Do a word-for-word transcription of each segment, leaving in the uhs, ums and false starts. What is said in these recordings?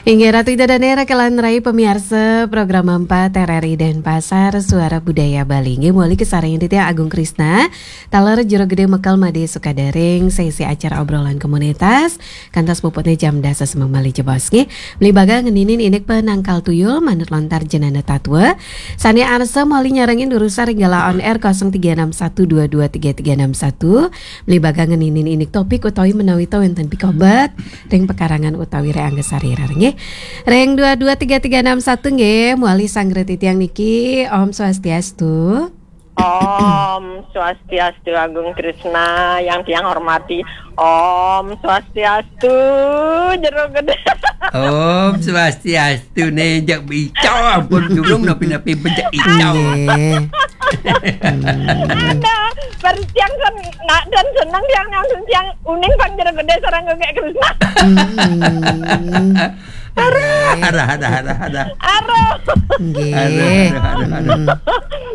Inggih Ratu Ida Dane, raka lan rai pamiarsa Program empat R R I Denpasar, Suara Budaya Bali. Inggih, mawali kasarengin titiang Agung Krisna, taler Jero Gede Mekel Made Sukadaring, sesi acara obrolan komunitas, kantos puputne jam dasa semeng malih jebos, nggih. Mlibata ngeninin indik penangkal tuyul manut lontar jenana tatwa. Sane arsa mawali nyarengin durusang ring galah on air kosong tiga enam satu dua dua tiga tiga enam satu. Mlibata ngeninin indik topik utawi menawi ta wenten pikobet ring pekarangan utawi ring angga sarira, nggih. Ring dua dua tiga tiga enam satu, nggih, mawali sanggra titiang niki. Om Swastiastu. Om Swastiastu, Agung Krisna yang tiang hormati. Om Swastiastu, Jero Gede. Om Swastiastu, ne jak icau, ampun, durung napi-napi bejak icau. Nggih. Hmm. Ada, baru tiang kan nak dan senang tiang langsung tiang uning pang Jero Gede sareng Agung Krisna. Hmm. Arah, arah, arah, arah, arah. Arah. Nggih. Arah, arah, arah, arah. Hmm.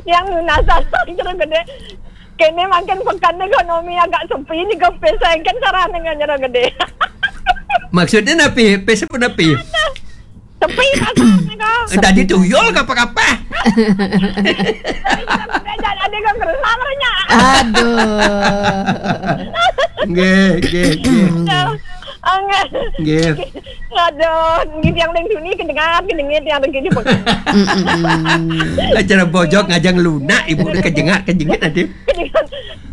Yang lunasan Jero Gede. Kene mangkin pekan ekonomi agak sepi nika, pesengken sarane ngan Jero Gede. Maksudnya napi? Pes apa napi? Sepi pasar nika. Tadi tuyul kapah-kapah. Jangan ada yang kerusak namanya. Aduh. Nggih, nggih, nggih. Nggih. Angge. Nggih. Aduh, nggih tiang ring duni kedengar, kedengit tiang ring kene. Mm-mm. Acara bojog ngajeng lunak, Ibu, kejengak, kejengit nanti.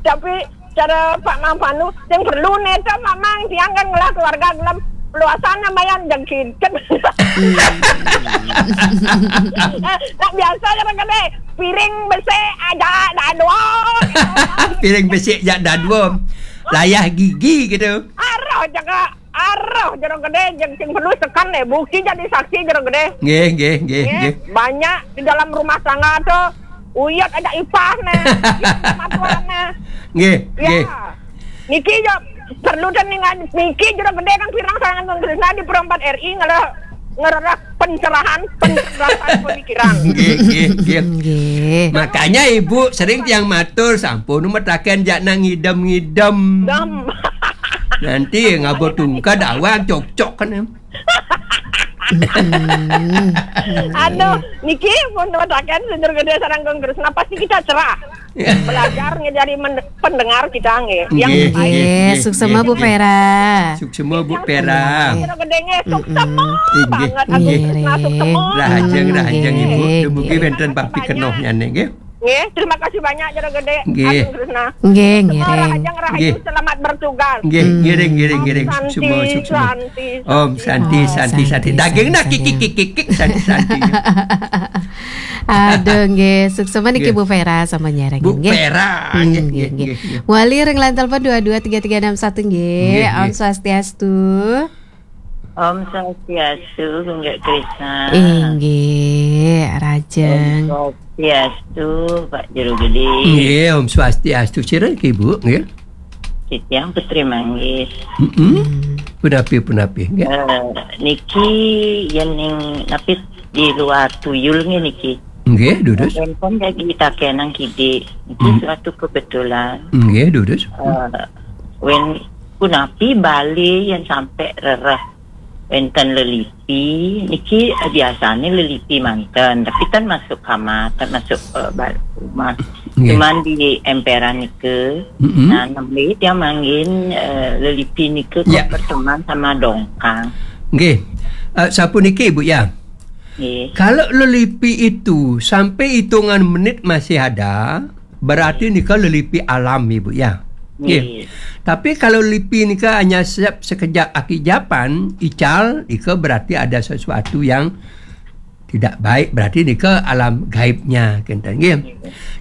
Tapi cara Pak Mang Panu, yang perlu neta Pak Mang, tiang kan ngelah keluarga gelem luasan namanya jengkit. Hmm. Eh, nak biasa ya kan, eh, piring besi aja dah dua. Piring besi aja dah dua. Layah gigi gitu. Arah jaga Aroh, Jero Gede, jeng sing perlu tekan nih, buki jadi saksi, Jero Gede. Nggih, nggih, nggih, nggih, nggih. Banyak di dalam rumah tangga tuh, uyut ada ipah nih, matuan nih. Nggih, ya. Nggih. Niki yo perlu dan ningan niki Jero Gede kan pirang sayangan Krisna di Pro empat R I ngelah ngerereh pencerahan, pencerdasan pemikiran. Nggih, nggih, nggih. Nggih. Makanya Ibu sering tiang matur, sampun metaken jak nang ngidem-ngidem. Dam. Nanti ngabot tungkad awang cocok kan, em. Hmm. Aduh, niki pun metaken Jero Gede sareng Agung Krisna pasti kita cerah. Ya. Belajar ngejari men-, pendengar kita nggih. Yang nggih, baik. Nggih, nggih, suksema, nggih, Bu Vera. Suksema, Bu Vera. Jero Gede nggih, suksema banget. Nggih. Agung Krisna suksema. Rahajeng, rahajeng, Ibu. Nggih. Dumugi wenten papikenohnyané nggih. Nggih, terima kasih banyak Jero Gede. Nggih. Agung Krisna. Nggih, suksema, ngiring. Rahajeng, rahayu, nggih, selamat bertugas. Nggih, ngiring, ngiring, ngiring. Om Santi, suksema, suksema. Santi, Om Santi, Santi, Santi. Santi. Daging nak kikik, kikik, kikik, Santi, Santi. Aduh, nggih, suksema niki, nggih, Bu Vera sama nyarengin, Bu, nggih. Vera, hmm, nggih, nggih, nggih, nggih, nggih. Wali ring line telepon dua dua tiga tiga enam satu, nggih. Nggih, nggih. Om Swastiastu. Om Swastiastu, Gunggak Krisna. Inggih, rajeng. Om Swastiastu, Pak Jero Gede. Nggih, Om Swastiastu. Sira niki, Bu, nggih. Titiang Putri Manggis. Mm-mm. Hmm. Punapi, punapi, nggih. Eh, niki yen ning napi di luar tuyul nggih niki. Nggih, durus. Enten lagi takenang kidik. Niki, hmm, suatu kebetulan. Nggih, durus. Eh, wen punapi Bali yang sampai rerah wenten lelipi, niki biasanya lelipi manten, tapi kan masuk kamar, kan masuk, eh, ba-, rumah. Nggih. Cuman di emperan nika, mm-mm, nah, nembe dia manggil, eh, lelipi nika kok, ya, berteman sama dongkang. Nggih. Eh, sapuniki, Bu, ya. Nggih. Kalau lelipi itu sampai hitungan menit masih ada, berarti nika lelipi alam, Ibu, ya. Nggih. Nggih. Tapi kalau lelipi nika hanya se-, sekejap akijapan, ical, nika berarti ada sesuatu yang tidak baik, berarti nika alam gaibnya, kenten, nggih. Nggih.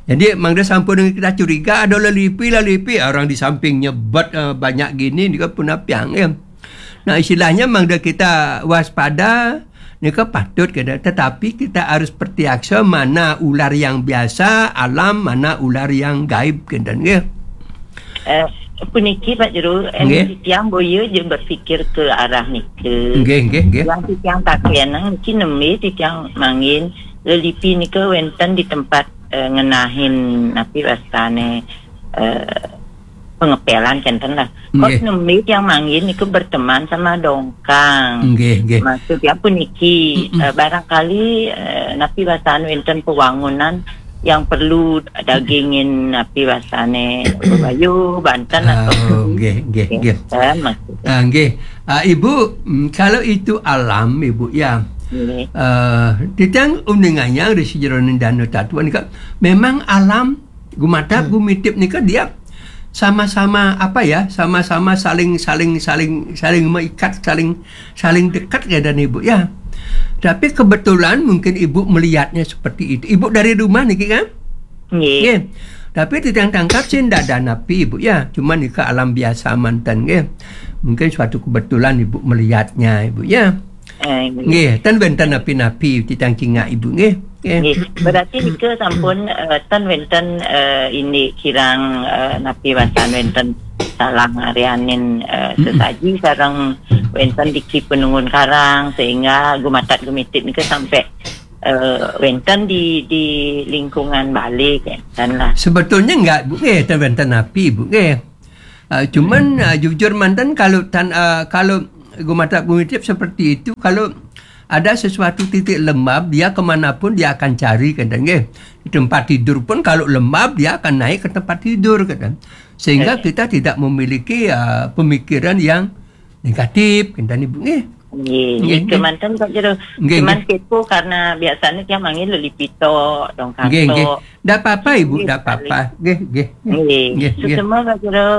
Jadi, mangda sampun kita curiga ada lelipi, lelipi, orang di sampingnya bet, eh, banyak gini, nika punapiang, nggih. Nah, istilahnya mangda kita waspada, nika patut kita, tetapi kita harus pertiaksa mana ular yang biasa, alam, mana ular yang gaib, kenten nggih. Eh, puniki, Pak Jero, eh, nggih, titiang boya je berpikir ke arah nika. Nggih, nggih, nggih. Yang titiang takenang niki nembe titiang mangin lelipi nika wenten di tempat, eh, ngenahin napi wastane, eh, pengepelan kenten lah. Kok nembé tiang mangkin niku berteman sama dongkang. Nggih, nggih. Maksudnya puniki, Mm-mm. eh, barangkali, eh, napi basan wenten pewangunan yang perlu dagingin napi basane bayu banten atau Oh, nggih, nggih, nggih. Kan maksudnya. Ah, nggih. Ah, Ibu, mm, kalau itu alam, Ibu, ya. Nggih. Eh, titiang uningayang di sejeroning Dana Tatwa nika, memang alam gumatap gumitip nika dia sama-sama apa ya, sama-sama saling saling saling saling meikat, saling saling dekat ya dan Ibu ya. Tapi kebetulan mungkin Ibu melihatnya seperti itu. Ibu dari rumah niki kan? Nggih. Nggih. Tapi titiang tangkap sih ndak ada napi Ibu ya. Cuman nika alam biasa manten nggih. Mungkin suatu kebetulan Ibu melihatnya Ibu ya. Eh, nggih. Nggih, ten wenten napi-napi titiang cingak Ibu nggih. Nggih. Nggih. Berarti nika sampun eh, ten wenten eh, ini kirang eh, napi basan wenten salah ngarianin eh, sesaji sareng wenten diki penungun karang sehingga gumatat gumitip nika sampai eh, wenten di di lingkungan balik kan lah. Sebetulnya enggak Bu nggih, ten wenten napi Bu nggih. Ah, cuman ah, jujur manten kalau tan ah, kalau gumatap gumitip seperti itu, kalau ada sesuatu titik lembab, dia kemanapun dia akan cari kenten nggih. Di tempat tidur pun kalau lembab dia akan naik ke tempat tidur kenten. Sehingga kita tidak memiliki ah, pemikiran yang negatif kenten Ibu nggih. Nggih, nggih, nggih. Kemanten Pak Jero. Nggih, cuman nggih. Kepo karena biasanya dia manggil lelipito, dongkang Nggih, nggih. Ndak apa-apa Ibu, nggih, ndak apa-apa. Nggih, nggih. Nggih. Nggih, nggih. Suksma Pak Jero.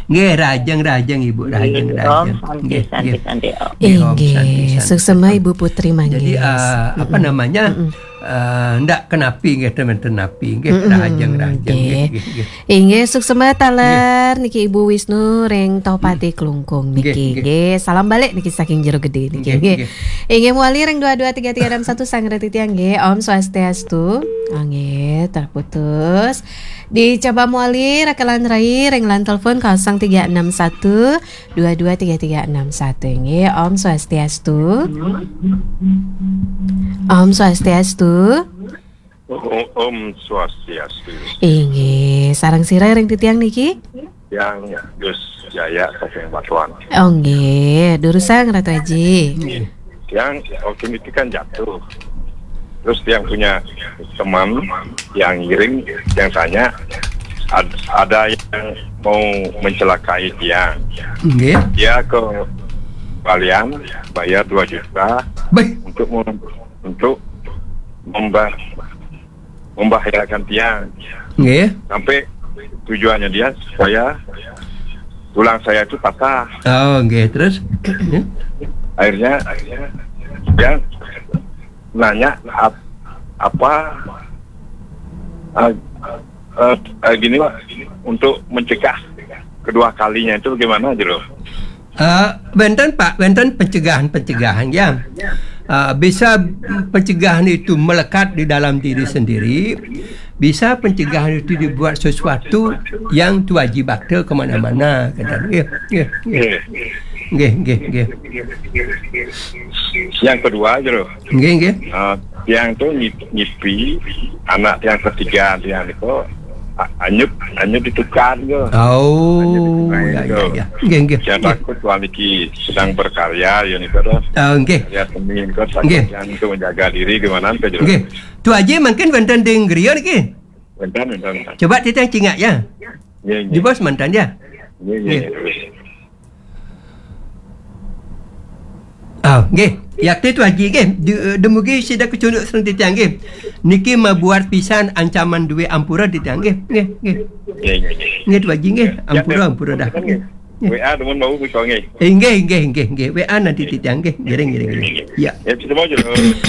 Nggih, rajeng rajeng Ibu, rajeng Nggih, rajeng. Om Santi, Nggih, Santi, nggih. Santi, Om. Nggih, Om Santi, Nggih, Santi, suksma Santi. Ibu Putri Manggis. Jadi ah, apa Mm-mm. namanya? Mm-mm. Ah, ndak kenapi nggih, teman tenapi nggih, Mm-mm. Rajeng rajeng nggih, Nggih. Nggih, nggih. Inggih, suksma taler niki Ibu Wisnu ring Tohpati Klungkung niki. Nggih, nggih. Nggih, salam balik niki saking Jero Gede niki Nggih, nggih. Nggih. Inggih, mewali ring dua dua tiga tiga enam satu sanggra titiang nggih. Om Swastiastu. Oh, nggih, terputus. Dicoba mewali rekelan rai ring line telepon kosong tiga enam satu dua dua tiga tiga enam satu nggih. Om Swastiastu. Om Swastiastu. Om, Om Swastiastu. Inggih, sareng sira ring titiang niki? Yang Gus Jaya saking Batuan. Oh nggih, durusang Ratu Aji. Yang waktu itu kan jatuh. Terus yang punya teman yang ngiring, yang tanya ad- ada yang mau mencelakai dia. Nggih. Dia ke Balian bayar dua juta Baik. untuk mem- untuk membah membahayakan tiang. Nggih. Sampai tujuannya dia supaya tulang saya itu patah. Oh, nggih, terus? Akhirnya dia nanya ap- apa eh, eh, eh, gini Pak, untuk mencegah kedua kalinya itu bagaimana aja loh? Eh, wenten Pak, wenten pencegahan-pencegahan ya. Eh, bisa pencegahan itu melekat di dalam diri sendiri, bisa pencegahan itu dibuat sesuatu yang tuaji bakta kemana-mana kata. Nggih, nggih, nggih. Nggih. Nggih, nggih, nggih. Yang kedua aja loh. Nggih, nggih. Eh, yang tuh nyipi anak yang ketiga yang itu anyut anyut ditukar ke. Oh, ya, ya, ya. Nggih, nggih. Saya takut tuan niki sedang berkarya ya niko dah. Oh, nggih. Karya seni niko takut yang itu menjaga diri gimana nggih. Tuaji mungkin wenten ding griya niki. Wenten wenten. Coba titiang cingak ya. Nggih, nggih. Jebos mantan ya. Nggih, nggih. Ah, nggih. Yakti tuaji nggih. Dumugi sida kecunduk sareng titiang nggih. Niki mabuat pisan ancaman duwe ampura titiang nggih. Nggih, nggih. Nggih, nggih, nggih. Nggih tuaji nggih. Ampura, ampura dah. Nggih. W A demen bau bisa nggih. Inggih, inggih, inggih, inggih. W A nanti titiang nggih. Ngiring, ngiring, ngiring. Ya. Ya, bisa mau aja.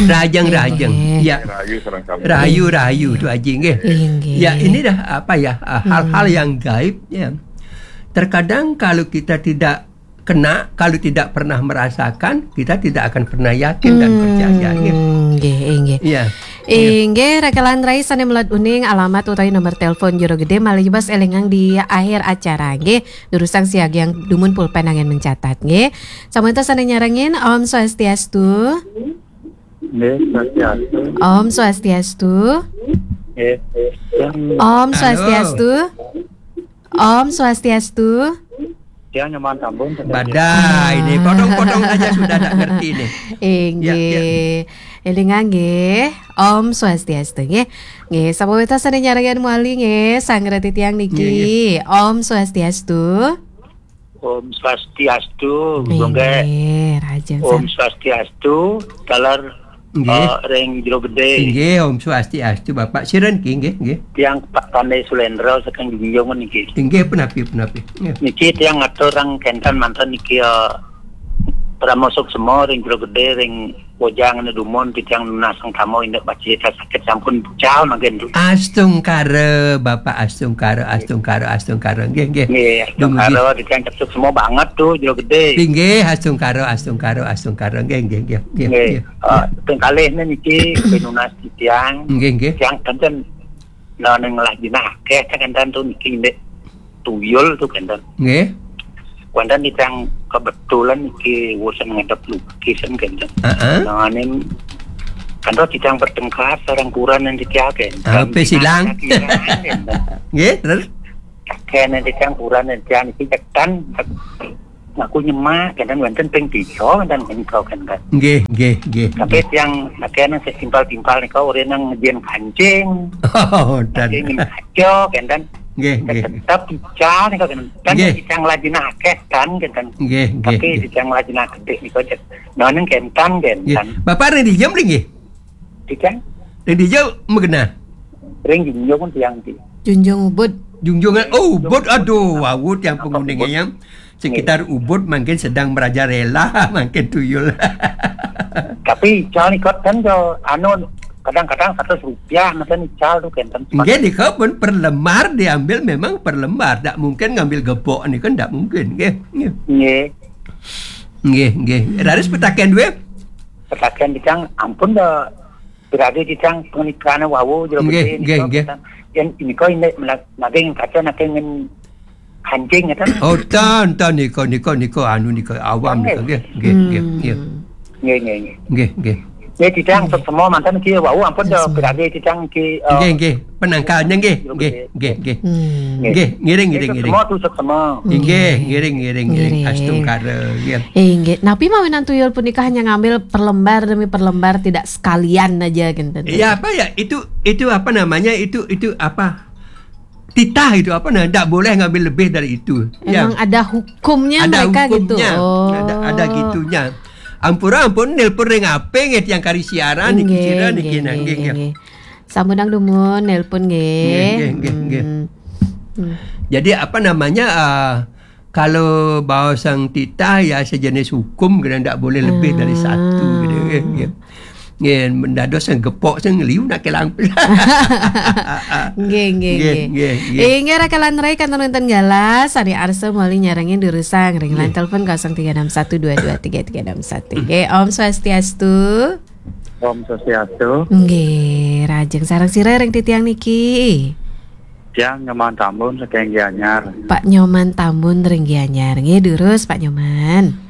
Rajang, rajang. Ya. Rahayu sareng sami. Rahayu, rahayu tuaji nggih. Inggih. Ya, ini dah apa ya? Hal-hal yang gaib ya. Terkadang kalau kita tidak kena, kalau tidak pernah merasakan, kita tidak akan pernah yakin dan percaya. Nggih, nggih. Iya. Inggih, rekelan rai sane melat uning alamat utawi nomor telepon Jero Gede malih bas elingang di akhir acara nggih. Durusang siagian dumun pulpen angin mencatat nggih. Samanta sane nyarengin, Om Swastiastu. Nggih, Swastiastu. Om Swastiastu. Nggih. Om Swastiastu. Om Swastiastu. Ya, nyoman tambun. Badai nih, potong-potong saja sudah tak ngerti nih. Inggih. Ya, ya. Élingang nggih. Om Swastiastu nggih. Nggih, sampun wénten sané nyarengan malih nggih, sareng titiang niki. Nggih, nggih. Om Swastiastu. Om Swastiastu, Gunggé. Inggih, rajeng Om san- Swastiastu, taler, Nggih. eh, ring Jero Gedé. Inggih, Om Swastiastu, Bapak. Sira niki, nggih, nggih. Tiang Pak Pandé Sulendra saking Junjung niki. Inggih, punapi, punapi. Nggih. Niki tiang ngatur ring kénten manten niki, eh, Parama Suksma ring Jero Gedé ring Bojang anu dumun titiang nunas sang tama indik bacita sakit sampun bucal mangkin tu. Astungkara, Bapak, astungkara, astungkara, astungkara. Nggih, nggih. Nggih, astungkara, titiang cekcok semua banget tu, Jero Gedé. Inggih, astungkara, astungkara, astungkara. Nggih, nggih, nggih, nggih, nggih. Nggih. Eh, ping kalih niki pinunas titiang. Nggih, nggih. Tiang kénten Nah, ning lah jinah akéh kan kénten tu niki ndik tuyul tu kénten. Nggih. Kénten titiang kebetulan niki wusan ngadep lukis kan kénten. Heeh. Nah, ning kan tu titiang bertengkar sareng kurenan titiang kénten. Ah, pesilang. Nggih, terus? Kénten titiang kurenan titiang niki cekan ngaku nyemak, kénten wénten ping tiga, kénten menika, kénten. Nggih, nggih, nggih, Tapi nggih. Tiang akéh nang setimpal-timpal nika urip nang ngején kancing. Oh, dan. Kancing kaca, kénten. Nggih, nggih. Tetep ical nika, kénten. Kan nggih. Tiang lajina akéh kan, kénten. Nggih, nggih, Tapi nggih. Tiang lajina gedé nika, cek. Nah, ning kénten, nggih. Kénten. Bapak ring dija mriki nggih? Tiang? Ring dija magena? Ring Junjung tiang niki. Junjung Ubud. Junjungan, oh, Ubud, aduh, wau tiang penguning yang sekitar Ubud mungkin sedang merajalela, mungkin tuyul. Tapi ical nika kan jo, anu, kadang-kadang seratus rupiah, macam ical tu kan. Nggih, nika pun per lembar diambil, memang per lembar, tak mungkin ngambil gepok nika, tak mungkin, nggih, nggih. Nggih. Nggih, nggih. Raris petaken duwe? Petaken titiang ampun dah. Berarti titiang pernikahan wau Jero Gedé nggih, nggih, nggih. Yen nika indik menak-, naging kaca naging ngen kancing, ya, kan? Oh, ten, ten, nika, nika, nika, anu, nika, awam, nika, nggih, nggih, nggih, nggih. Hmm. Nggih, nggih, nggih. Nggih, nggih. Nggih, titiang semua manten niki wau ampun dah berarti titiang niki, eh, nggih, nggih. Penangkalnya, nggih, nggih, nggih, nggih. Hmm. Nggih, ngiring, ngiring, ngiring. Semua tu semua. Nggih, ngiring, ngiring, ngiring. Ngiring. Astungkara, nggih. Eh, nggih. Napi mawinan tuyul punika hanya ngambil per lembar demi per lembar, tidak sekalian aja, gitu. Iya, apa ya? Itu, itu apa namanya? Itu, itu apa? Titah itu apa, nah, ndak boleh ngambil lebih dari itu. Ya. Emang ada hukumnya ada mereka gitu? Hukumnya. Oh. Ada, ada gitunya. Ampura ampun, nelpon ring apa nggih tiang kari siaran niki, nggih, sira niki, nggih, nah, nggih, nggih, nggih, nggih. Sampun nang dumun nelpon nggih. Nggih, nggih, nggih, nggih. Hmm. Hmm. Jadi apa namanya, ah, kalau baos sang titah ya sejenis hukum, kena ndak boleh lebih dari satu, gitu, nggih, nggih. Nggih, mendados sing gepok sing liu nak kelang. Nggih, nggih, nggih, nggih. Nggih, nggih. Inggih, rakelan rai kantun wénten galah, sami arsa malih nyarengin durusang ring line telepon kosong tiga enam satu dua dua tiga tiga enam satu. Nggih, Om Swastiastu. Om Swastiastu. Nggih, rajeng sareng sira ring titiang niki. Tiang Nyoman Tambun saking Gianyar. Pak Nyoman Tambun ring Gianyar. Nggih, durus Pak Nyoman.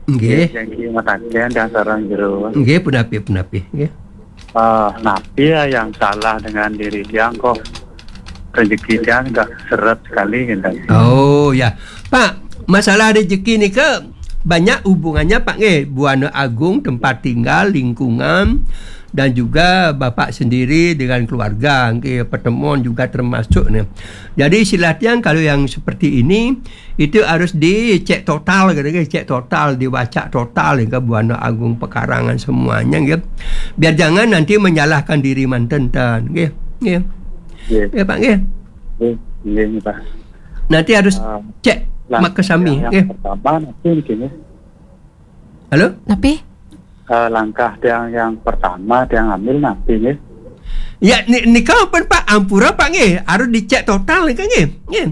Nggih. Nggih, jagi mataken dan sareng jero. Nggih, punapi, punapi, nggih. Ah, napi ya yang salah dengan diri tiang kok rezeki tiang nggak seret sekali gitu. Oh, ya. Pak, masalah rezeki nika banyak hubungannya, Pak, nggih. Buana agung, tempat tinggal, lingkungan, dan juga Bapak sendiri dengan keluarga, nggih, pertemuan juga termasuk nih. Jadi istilah tiang kalau yang seperti ini, itu harus dicek total, gitu, nggih, cek total, diwacak total, nggih, Buana Agung pekarangan semuanya, nggih. Biar jangan nanti menyalahkan diri manten, ten, nggih. Nggih. Nggih. Ya, Pak, nggih. Nggih, nggih, Pak. Nanti harus cek makasami, nggih. Yang pertama nanti begini. Halo? Napi? Eh, langkah tiang yang pertama tiang ambil napi nggih? Ya, ni-, nika pun, Pak, ampura, Pak, nggih. Harus dicek total nika nggih. Nggih.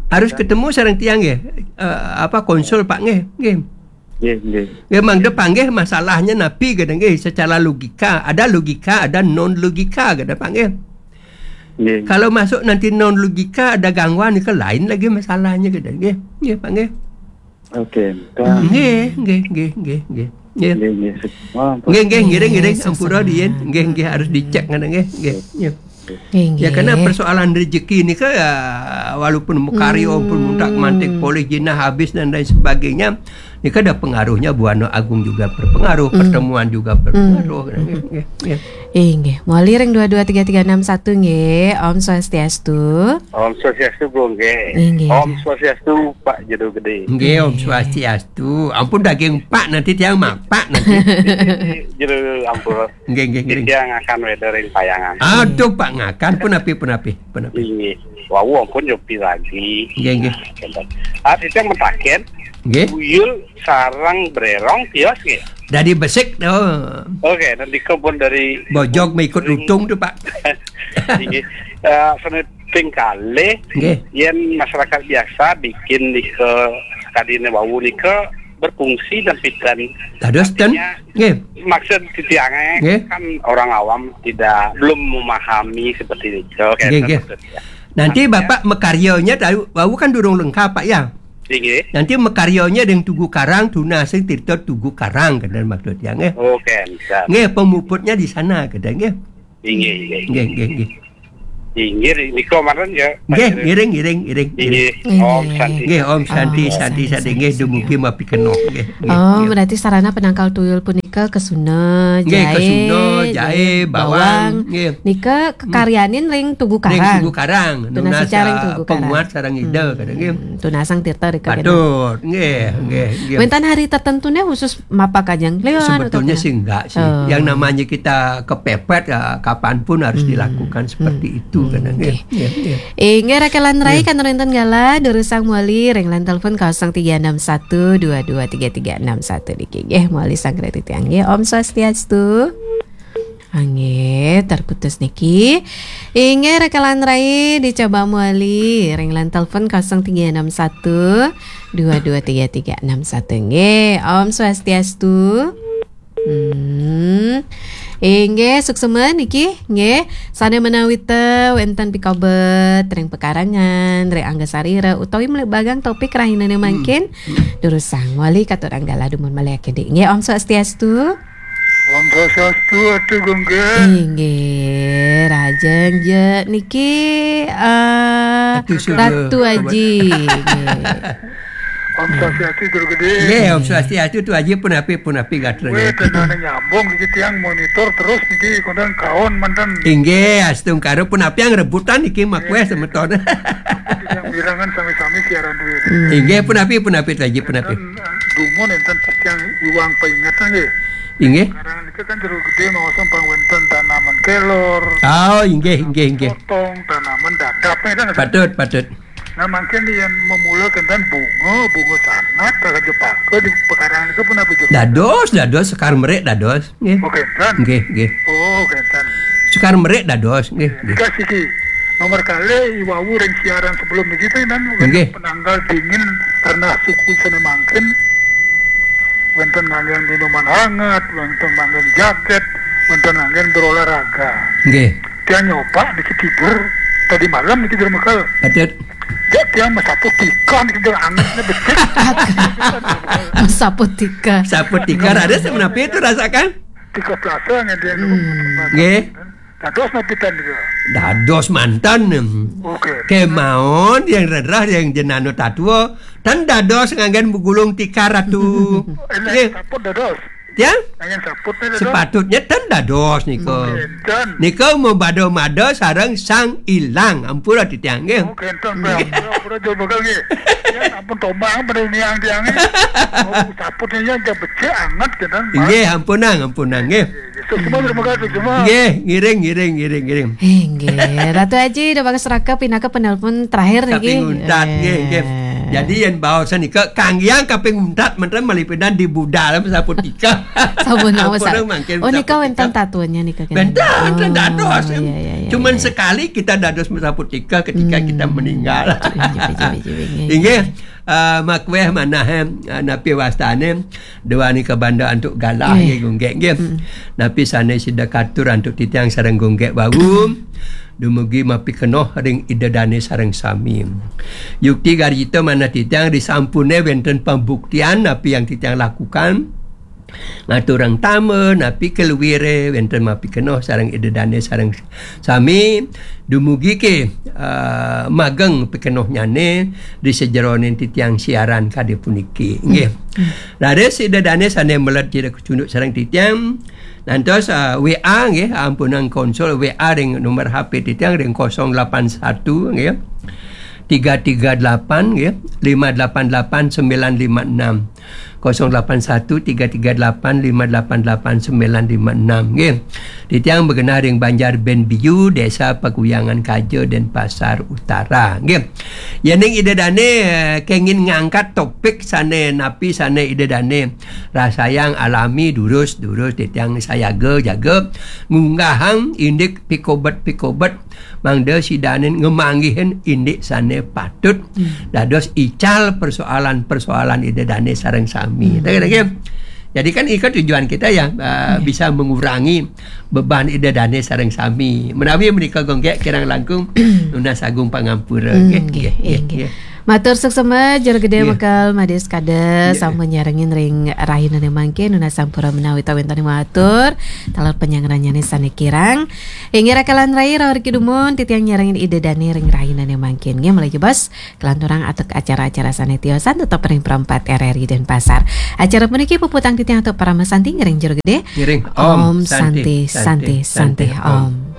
Harus ketemu sareng tiang nggih. Eh, apa, konsul, Pak, nggih. Nggih. Nggih, nggih. Nggih, mangda panggih masalahnya napi gini nggih, secara logika. Ada logika, ada non logika gini, Pak, nggih. Nggih. Kalau masuk nanti non logika, ada gangguan, nika lain lagi masalahnya gini nggih. Nggih, Pak, nggih. Oke, dah. Nggih, nggih, nggih, nggih, nggih. Nggih. Nggih, nggih, semua. Nggih, nggih, ngiring, ngiring, nggih, ampura sesama. Riin. Nggih, nggih, harus dicek ngene nggih. Nggih, nggih. Inggih. Ya, karena persoalan rezeki ni ke, ah, walaupun makarya, hmm, pun muntak mantik polih jinah habis dan lain sebagainya, ni ke ada pengaruhnya, buana agung juga berpengaruh, hmm, pertemuan juga berpengaruh. Hmm. Nggih, nggih, nggih. Inggih. Mawali ring dua dua tiga tiga enam satu nggih. Om Swastiastu. Om Swastiastu, Gung, nggih. Inggih. Om Swastiastu, Pak Jero Gede. Nggih, Om Swastiastu. Ampun daging Pak, nanti tiang mapak nanti. Jero ampun. Nggih, nggih, nggih. Tiang akan wéda ring Payangan. Aduh, Pak ngakan punapi, punapi, punapi. Inggih. Wau ampun yo piragi. Nggih, nggih. Ah, tiang mataken. Nggih. Tuyul sareng brérong tios nggih. Dari besik to. Oke, nanti pun dari bojog mengikut lutung to, Pak. Inggih. Eh, sané ping kalih, nggih, yén masyarakat biasa bikin nika kadine wau nika berfungsi dan pidan. Dados ten. Artinya, nggih. Maksud titiangé, nggih, kan orang awam tidak, belum memahami seperti itu. Oke, nggih, nggih. Maksudnya. Nanti artinya Bapak makaryanya tahu, wau kan durung lengkap, Pak, ya? Inggih. Nanti makaryanya dengan Tugu Karang, tunasing tirta Tugu Karang, kan maksud tiang, nggih. Oke, bisa. Nggih, pemuputnya di sana, kan, nggih. Inggih, inggih. Nggih, nggih, nggih. Inggih, nika mawon ya, Pak. Nggih, ngiring, ngiring, ngiring, ngiring. Inggih. Om Santi. Nggih, Om Santi, Om Santi, Santi, Santi, nggih, Santi. Dumugi mapikenoh, nggih, nggih, oh, nggih. Berarti sarana penangkal tuyul punika kesuna, nggih, jaé, kesuna, jaé, jaé, bawang, bawang. Nggih. Nika kekaryanin ring Tugu Karang. Ring Tugu Karang. Tunas nunas, ring, ah, Tugu Karang. Penguat sareng Ida, hmm, kadang, nggih. Tunasang tirta rika. Patut, nggih, nggih, nggih. Wénten hari tertentune khusus mapak kajeng kliwon. Sebetulnya atau sih enggak sih. Oh. Yang namanya kita kepepet, ya, kapanpun harus, hmm, dilakukan seperti, hmm, itu, hmm, kadang, nggih, nggih. Nggih, nggih. Inggih, Raka lan Rai, nggih, kan rinten galah, durusang mawali ring line telepon kosong tiga enam satu dua dua tiga tiga enam satu niki. Nggih, mawali sanggra titiang, nggih. Om Swastiastu. Nggih, terputus niki. Inggih, Raka lan Rai, dicoba mawali ring line telepon kosong tiga enam satu dua dua tiga tiga enam satu. Nggih, Om Swastiastu. Hmm. Inggih, suksma niki, nggih. Sané menawi té wénten pikobet ring pekarangan, ring angga sarira, utawi mlebet topik rahinané, hmm, mangkin, durusang mawali katur anggala dumun malih akédi. Nggih, Om Swastiastu. Om Swastiastu, Atu Gung, nggih. Inggih, rahajeng ja niki, eh, Ratu Sudra. Ratu Aji. Nggih. Om Swastiastu, Jero Gede. Nggih, Om Swastiastu, Tu Aji, punapi, punapi gatra. Wéh, niki. Tenan nyambung niki, tiang monitor terus niki, konten kaon manten. Inggih, astungkara, punapi yang rebutan niki, makweh, nggih, semeton. Tiang bilangan sami-sami siaran duwe. Hmm. Inggih, punapi, punapi, Tu Aji, punapi. Enten, eh, dumun enten tiang iwang peingetan nggih. Inggih. Sekarang niki kan Jero Gede maosang pang wénten tanaman kelor. Oh, inggih, inggih, inggih. Potong, tanaman dadap, ya kan? Patut, patut. Nah, mangkin yén memula kenten bunga, bunga sanat, raja paka di pekarangan itu pun apa juga? Dados, dados, sekar merik dados. Nggih. Oh, kenten. Nggih, nggih. Oh, kenten. Sekar merik dados, nggih, nggih. Kasih ki. Nomor kali, iwau ring siaran sebelum niki, kan, nggih, penanggal dingin karena suku sene mangkin. Wénten nganggén minuman hangat, wénten nganggén jaket, wénten nganggén berolahraga. Nggih. Tiang nyoba niki tidur tadi malam niki di rumah. Patut. Ya, tiang masapu tika niki, tidur angetnya becik. Masapu tika. Sapu tika, ada semenapi itu rasakan? Tika pelasa nggih, tiang. Hmm. Nggih. Dados napi ten nika? Dados manten. Oke. Kemawon yang rerah yang jenana tatua, ten dados nganggén begulung tikar, Ratu. Enak. Nggih. Saput dados. Ya? Nganggén saput nika dados. Sepatutnya ten dados nika. Nggih, ten. Nika mabada-mada sareng Sang Ilang. Ampura titiang, nggih. Oke, ten. Nggih. Ampura, ampura, jero bakal, nggih. Ya, ampun tombang pada niang tiang, nggih. Oh, saputnya yang becik anget, kenten, Pak. Nggih, ampunang, ampunang, nggih. Suksma, terima kasih, suksma. Nggih, ngiring, ngiring, ngiring, ngiring. Inggih, Ratu Aji, ida bagas raka pinaka penelpon terakhir niki. Samping untat, nggih, nggih. Eh. Jadi, yén baosan nika, kanggiang kaping untat, manten malih pidan di budal, sapu tika. Sampun, sampun. Ampun, mangkin. Oh, nika sapu tika. Wénten tatuannya nika, kan? Wénten, wénten dados. Oh, iya, iya, iya. Cuman sekali kita dados sapu tika ketika kita meninggal. Hmm. Betul, betul, betul, betul, nggih. Inggih. Ah, makweh manah, eh, napi wastane, duaning kabanda antuk galah, nggih, Gung Gék, nggih. Mm. Napi sane sida katur antuk titiang sareng Gung Gék wau, dumugi mapikenoh ring Ida Dane sareng sami. Yukti garita manah titiang, disampune wenten pambuktian napi yang titiang lakukan. ngaturang tama napi kaluire wenten mapikenoh sareng Ida Dane sareng sami, dumugi ke, eh, mageng pikenohnyané ri sajeroning titiang siaran kadi puniki. Nggih. Raris Ida Dane sane meled cunduk sareng titiang, nantos, eh, W A nggih, ampunang konsul, W A ring nomor H P titiang ring kosong delapan satu nggih, tiga tiga delapan nggih, lima delapan delapan sembilan lima enam. Kosong delapan satu tiga tiga delapan lima delapan delapan sembilan lima enam nggih. Titiang magenah ring Banjar Ben Biu, Desa Paguyangan Kaja, Denpasar Utara nggih. Yening Ida Dane, eh, kengin ngangkat topik sane napi sane Ida Dane rasayang alami, durus-durus titiang sayaga jaga ngunggahang indik pikobet-pikobet mangda Ida Dane ngemanggihin indik sane patut dados ical persoalan-persoalan Ida Dane sareng sami. Hmm. Nggih. Jadi kan ika tujuan kita ya, uh, bisa mengurangi beban Ida Dane sareng sami. Menawi menika Gung Gek kirang langkung nunas agung pangampura. Hmm, nggih, nggih, nggih, nggih, nggih. Matur suksma, Jero Gede. Nggih. Bekel Madis Kades, nggih, sampun nyarengin ring rahinané mangkin, nunas sampura menawi tawéntening matur, taler panyangranyane sane kirang. Inggih rakalan rai, rawar kidumun, titiang nyarengin Ida Dane ring rahinané mangkin. Nggih, malih jebos, kalanturang atur acara-acara sane tiosan tetep ring Pro empat R R I Denpasar. Acara puniki puputang titiang atur parama santi ngiring Jero Gede. Ngiring. Om Santi, Santi, Santi, Santi, Om.